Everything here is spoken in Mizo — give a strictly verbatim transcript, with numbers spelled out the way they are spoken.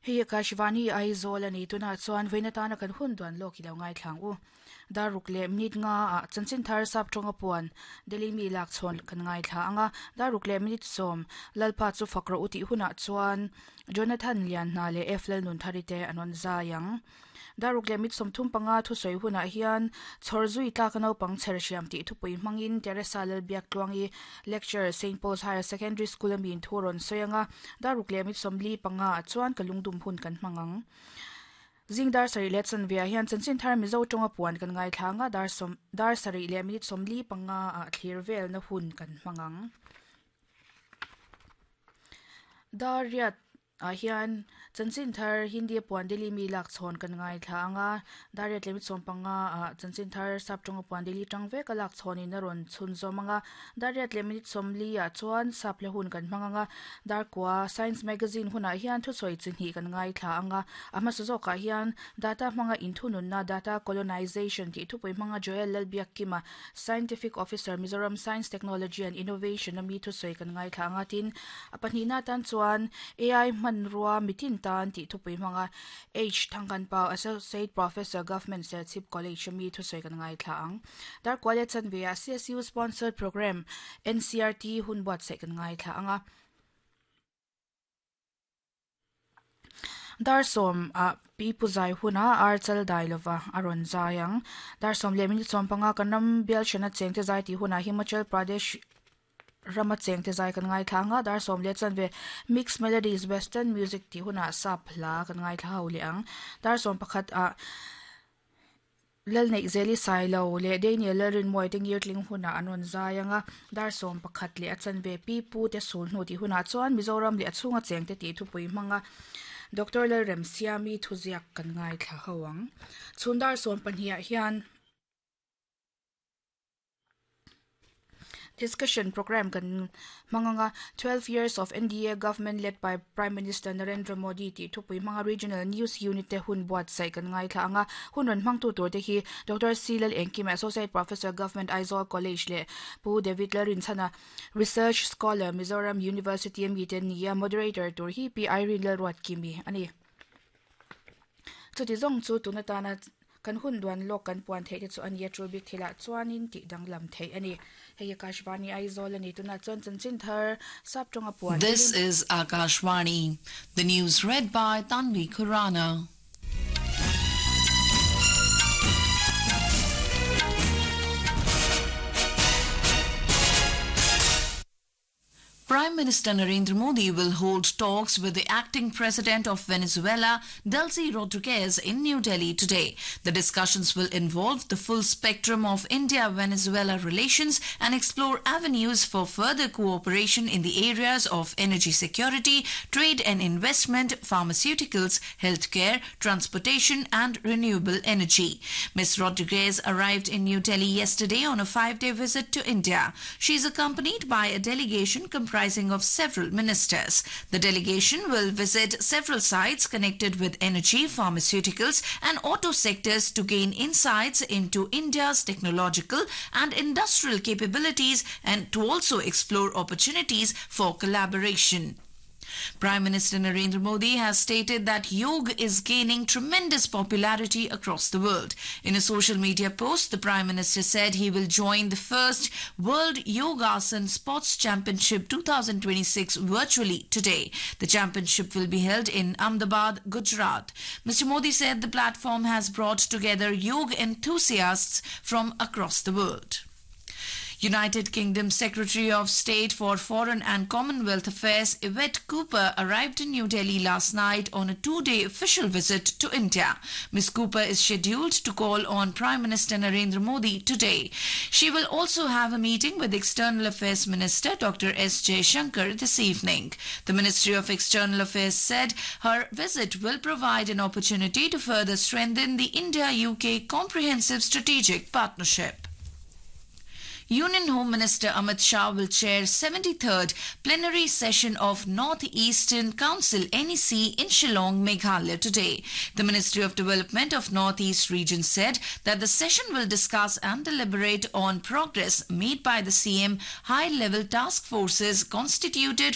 Hei Akashvani Aizawl ani tuna chuan veina tana kan hun duan lawk ilo ngai thlang u daruk le minute nga a chanchin thar sap tonga puan Delhi mi lak chhon kan ngai thla anga daruk le minute som lalpa chu fakro uti huna chuan Jonathan Lian na le F lal nun tharite anon zayang daruk le mit somthum panga thu soi huna hian chhorzui tla kanau pang chersiam ti thupui mangin Teresa lal biak tluangi lecture Saint Paul's Higher Secondary School amin thuron soyanga daruk le mit somli panga chuan kalungdum hun kan mangang zingdar sari le chan via hian chanchin thar mizo tonga puan kan ngai thlanga dar som dar sari le minute somli panga a thlir vel na hun kan mangang dar riat a hian chanchin thar Hindi puan Delhi mi lak chhon kan ngai thla anga dar riat le minute som panga a chanchin thar sap tonga puan Delhi tang ve ka lak chhon in a ron chhun zomanga dar riat le minute somli a chuan sap le hun kan manganga dar kwa science magazine huna hian thu soi chinhi kan ngai thla anga ama suzoka hian data manga inthunun na data colonization ti thupui manga Joel Lalbiak Kima scientific officer Mizoram Science Technology and Innovation ami thu soi kan ngai thla anga tin apani na tan chuan A I man rua mitin tan ti thupui manga H Thangkan Pa associate professor government Serchhip College ami thu soi kan ngai thla ang dar kwale chan ve C S U sponsored program N C R T hun buat se kan ngai thla anga dar som a pi puzai huna ar chal dailova aron zayang dar som le minute som panga kanam bial shana chengte zai ti huna Himachal Pradesh rama chengte zai kan ngai thlanga dar som le chan ve mixed melodies western music ti huna sap hla kan ngai thla ho le ang dar som pakhat a lal nei zeli sailo le Daniel lalrin moi te ngir tling huna anon zayanga dar som pakhat le achan ve pi pu te sul hnu ti huna chuan Mizoram le achunga chengte ti thupui manga Doctor Lalrem Siami thuziak kan ngai thla hoang chundar som pahnih hian discussion program kan manganga twelve years of N D A government led by Prime Minister Narendra Modi ti thupui manga regional news unit te hun buat sai kan ngai thla anga hun ron mang tu tur te hi Doctor C Lal Engkim associate professor government Aizawl College le Pu David Larin Chana research scholar Mizoram University mi te nia moderator tur hi P Irene Lalruat Kimi ani chuti zong chu tunatana kan hun duan lok kan puan thei te chu ani chu bik thila chuanin ti danglam thei ani hei Akashvani Aizawl ani tuna chuan chanchin thar sap tonga puan. This is Akashvani, the news read by Tanvi Khurana. Prime Minister Narendra Modi will hold talks with the acting president of Venezuela, Delcy Rodriguez, in New Delhi today. The discussions will involve the full spectrum of India-Venezuela relations and explore avenues for further cooperation in the areas of energy security, trade and investment, pharmaceuticals, healthcare, transportation and renewable energy. Miz Rodriguez arrived in New Delhi yesterday on a five-day visit to India. She is accompanied by a delegation comprising of several ministers. The delegation will visit several sites connected with energy, pharmaceuticals and auto sectors to gain insights into India's technological and industrial capabilities and to also explore opportunities for collaboration. Prime Minister Narendra Modi has stated that yoga is gaining tremendous popularity across the world. In a social media post, the Prime Minister said he will join the first World Yogasan Sports Championship twenty twenty-six virtually today. The championship will be held in Ahmedabad, Gujarat. Mister Modi said the platform has brought together yoga enthusiasts from across the world. United Kingdom Secretary of State for Foreign and Commonwealth Affairs Yvette Cooper arrived in New Delhi last night on a two-day official visit to India. Miz Cooper is scheduled to call on Prime Minister Narendra Modi today. She will also have a meeting with External Affairs Minister Doctor S Jaishankar this evening. The Ministry of External Affairs said her visit will provide an opportunity to further strengthen the India-U K comprehensive strategic partnership. Union Home Minister Amit Shah will chair seventy-third plenary session of North Eastern Council N E C in Shillong, Meghalaya today. The Ministry of Development of North East Region said that the session will discuss and deliberate on progress made by the C M high-level task forces constituted